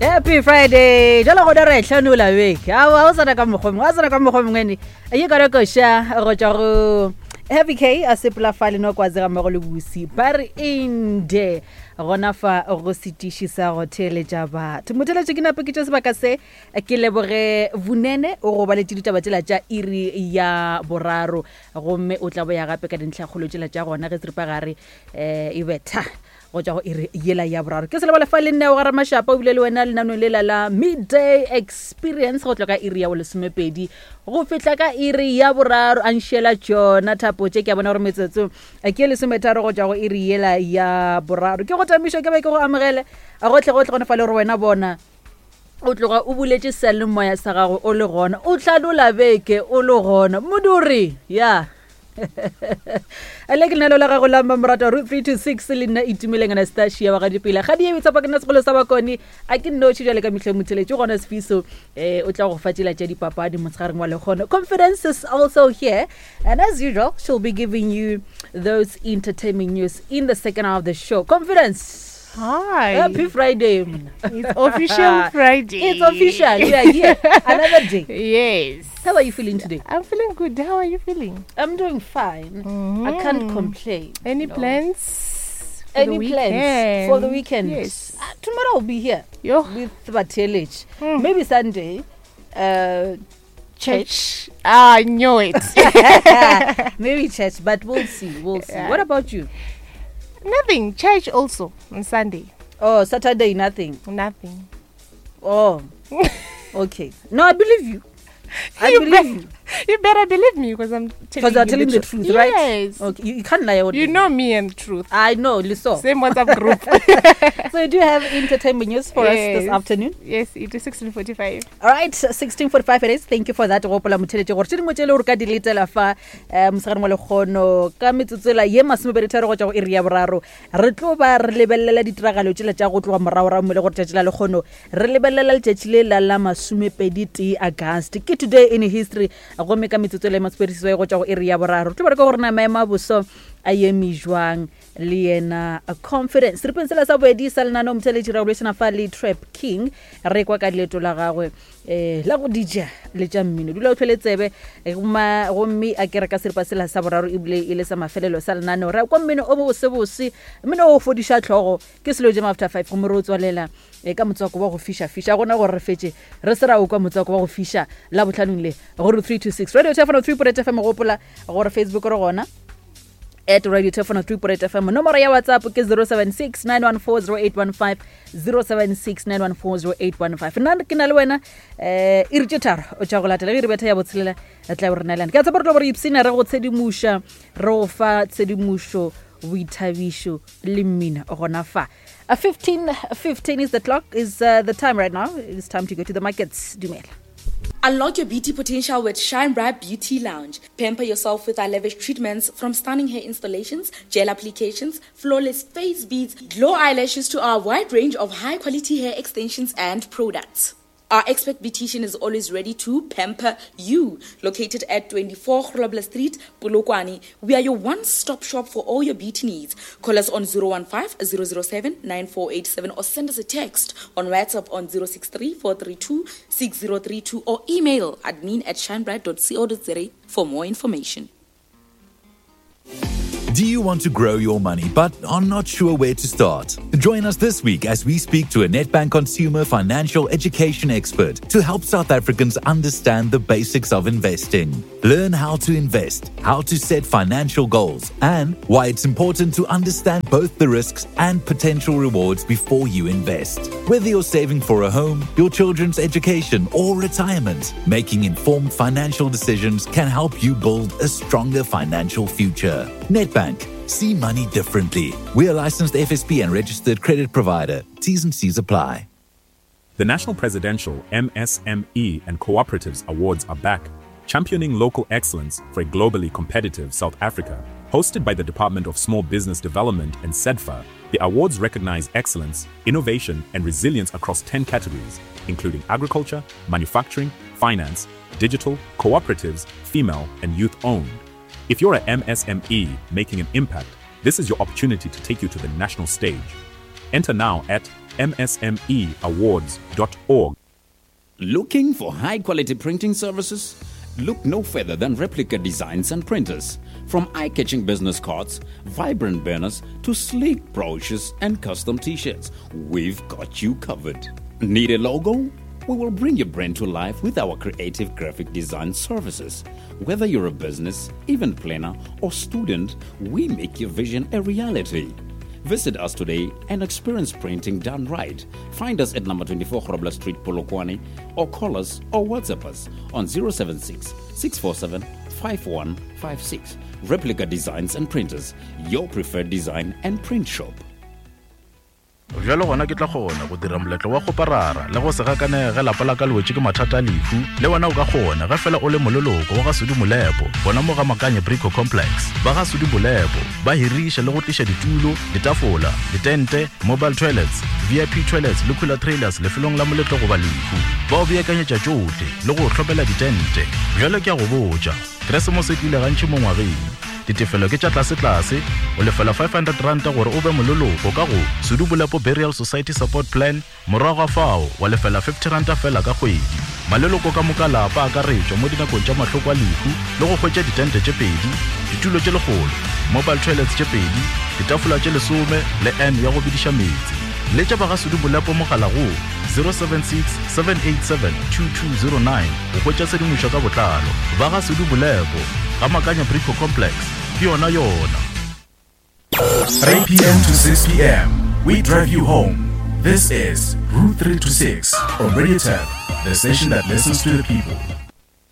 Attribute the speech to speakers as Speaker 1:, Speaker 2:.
Speaker 1: Happy Friday. Jalo go dira tlhanola beke. A o tsena ka mokgwa mongwe, a tsena ka mokgwa mongwe ne. Ye ka koša go tswa go Happy K a sepela fa le no kwa tsega mmogo le bosi. Ba re inde gona fa go setiši sa go theeletša batho. Motheeletši ke nape ke tše sebaka se ke leboge Vunene o go baletše ditaba tšela tša iri ya boraro gomme o tla boya gape ka dintlhakgolo tšela tša gona ge seripagare um e betha go tšwa go iri yela ya boraro. Ke selebale fa le nne o gara mašapa o bile le wena lenanong lela la midday experience go tloga ka iri ya bolesomepedi go fihla ka iri ya boraro. A nšiela tšona thapo tše, ke a bona gore metsotso ke lesometharo go tšwa go iri yela ya boraro. Ke go tamišo ke be ke go amogele gotlhe gotlhe gone fa le gore wena bona o tloga o buletše seyalemoya sa gago o le gona o tlhalola beke o le gona moduri ya le ke lenalo la gago la mmamoratwa root 326 le nna itumeleng Anastasia wa gadipela ga di e tsapa ke nna segolo sa bakone a ke nnoši jale ka mehleng motheletše gona sefiso um o tla go fa tsela tša dipapadi motshegareng wa lekgono. Confidence is also here and as usual she'll be giving you those entertainment news in the second half of the show. Confidence.
Speaker 2: Hi.
Speaker 1: Happy Friday. Mna.
Speaker 2: It's official Friday.
Speaker 1: It's official. We are here. Another day.
Speaker 2: Yes.
Speaker 1: How are you feeling today?
Speaker 2: I'm feeling good. How are you feeling?
Speaker 1: I'm doing fine. I can't complain.
Speaker 2: Any plans? For
Speaker 1: Any
Speaker 2: the
Speaker 1: plans for the
Speaker 2: weekend?
Speaker 1: weekend?
Speaker 2: Yes.
Speaker 1: Tomorrow I'll be here
Speaker 2: Yo.
Speaker 1: with Batelich. Maybe Sunday. Church.
Speaker 2: Church. Ah, I knew it.
Speaker 1: Maybe church, but we'll see. We'll see.
Speaker 2: Yeah.
Speaker 1: What about you?
Speaker 2: Nothing. Church also on Sunday.
Speaker 1: Oh, Saturday, nothing.
Speaker 2: Nothing.
Speaker 1: Oh, okay. No, I believe you. I
Speaker 2: You
Speaker 1: believe you.
Speaker 2: You better believe me because I'm telling
Speaker 1: Because you're
Speaker 2: you
Speaker 1: telling the truth, right?
Speaker 2: Yes.
Speaker 1: Okay, you can't lie.
Speaker 2: You know me and truth.
Speaker 1: I know, Liso.
Speaker 2: Same WhatsApp group.
Speaker 1: So you do have entertainment news for us this
Speaker 2: Yes.
Speaker 1: afternoon.
Speaker 2: Yes, it is 16:45.
Speaker 1: All right, 16:45 it is. Thank you for that. Go gopola motheletše gore tše dingwe tše le gore ka di letela fa um mosegareng wa lekgono ka metsotsela ye masomepeditharo go tšwa go iri ya boraro re tlo ba re lebelela ditiragalo tšela tša go tloga moragorago mo le gore tšatši la lekgono re lebelela letšatši le la la masomepedi tee August ke today in history gomme ka metsotso le masomepediseswai go tšwa go iri ya boraro re tlo ba re ka gore na maemo a boso a eme jwang le yena Confidence seripeng sela sa boedi sa lenaneo motheletši ra bolešana fa le Trap King re kwa ka leeto la gagwe um la go dija le tša mmino. Dula o tlhole tsebe gomme a ke re ka seripa sela sa boraro ebile e le sa mafelelo sa lenaneo re kwa mmino o bosebose mmino o fodiša tlhogo ke selo jam after 5 gomme re o tswalela ka motswako wa go fiša-fiša gona gore re fetše re se ra o kwa motswako wa go fiša la botlhanong le gore 326 Radio Telefono 3 FM. Gopola gore Facebook re gona at Radio Telefono 3 FM. Nomoro ya WhatsApp ke 076 914 0815, 076 914 0815. Nna ke na le wena um iri tše tharo o tša go latela ge re betha ya botshelela re tla be re neelane. Ke a tshepa re tlo bo re ipsina re go tshedimoša re go fa tshedimošo boithabišo le mmino gona fa. 15 15 is the clock, is the time right now. It's time to go to the markets. Dumela.
Speaker 3: Unlock your beauty potential with Shine Bright Beauty Lounge. Pamper yourself with our lavish treatments, from stunning hair installations, gel applications, flawless face beads, glow eyelashes to our wide range of high quality hair extensions and products. Our expert beautician is always ready to pamper you. Located at 24 Grobler Street, Polokwane, we are your one-stop shop for all your beauty needs. Call us on 015 007 9487 or send us a text on WhatsApp on 063 432 6032 or email admin@shinebright.co.za for more information.
Speaker 4: Do you want to grow your money but are not sure where to start? Join us this week as we speak to a Nedbank consumer financial education expert to help South Africans understand the basics of investing. Learn how to invest, how to set financial goals, and why it's important to understand both the risks and potential rewards before you invest. Whether you're saving for a home, your children's education, or retirement, making informed financial decisions can help you build a stronger financial future. Nedbank. See money differently. We are licensed FSP and registered credit provider. T's and C's apply.
Speaker 5: The National Presidential MSME and Cooperatives Awards are back, championing local excellence for a globally competitive South Africa. Hosted by the Department of Small Business Development and SEDFA, the awards recognize excellence, innovation, and resilience across 10 categories, including agriculture, manufacturing, finance, digital, cooperatives, female, and youth owned. If you're a MSME making an impact, this is your opportunity to take you to the national stage. Enter now at msmeawards.org.
Speaker 6: Looking for high quality printing services? Look no further than Replica Designs and Printers. From eye catching business cards, vibrant banners, to sleek brochures and custom t shirts, we've got you covered. Need a logo? We will bring your brand to life with our creative graphic design services. Whether you're a business, event planner, or student, we make your vision a reality. Visit us today and experience printing done right. Find us at number 24 Grobler Street, Polokwane, or call us or WhatsApp us on 076 647 5156. Replica Designs and Printers, your preferred design and print shop.
Speaker 7: Bjalo gona ke tla kgona go dira moletlo wa kgoparara le go se gakanege ge lapa la ka le wetše ke mathata a lehu. Le wena o ka kgona ge fela o le moleloko wa ga Sudi Molepo gona mo ga Makanye Brico Complex. Ba ga Sudi Molepo ba hiriša le go tliša ditulo, ditafola, ditente, mobile toilets, VIP toilets le cooler trailers lefelong la moletlo goba lehu. Ba o beakanyetša tšohle le go o hlopela ditente. Bjalo ke a go botša, Keresemose e tlile gantši mo ngwageng. Ditefelo ke tša tlasetlase, o lefela R500 gore o be moleloko ka go Sudu Bolepo Burial Society Support Plan, morago ga fao wa lefela R50 feela ka kgwedi. Maleloko ka moka lapa a akaretšwa mo dinakong tša mahloko a lehu le go hwetša ditente tše pedi, ditulo tše lekgolo, mobile toilets tše pedi, ditafola tše lesome le urn ya go bediša meetse. Letša ba ga Sudu Bolepo mogala go 076 787 2209 go hwetša tshedimošo ka botlalo. Ba ga Sudu Bolepo, ga Makanya Brico Complex, ke yona yona.
Speaker 8: 3 p.m. to 6 p.m. We drive you home. This is Route 3 to 6 on Radio Tap, the station that listens to the people.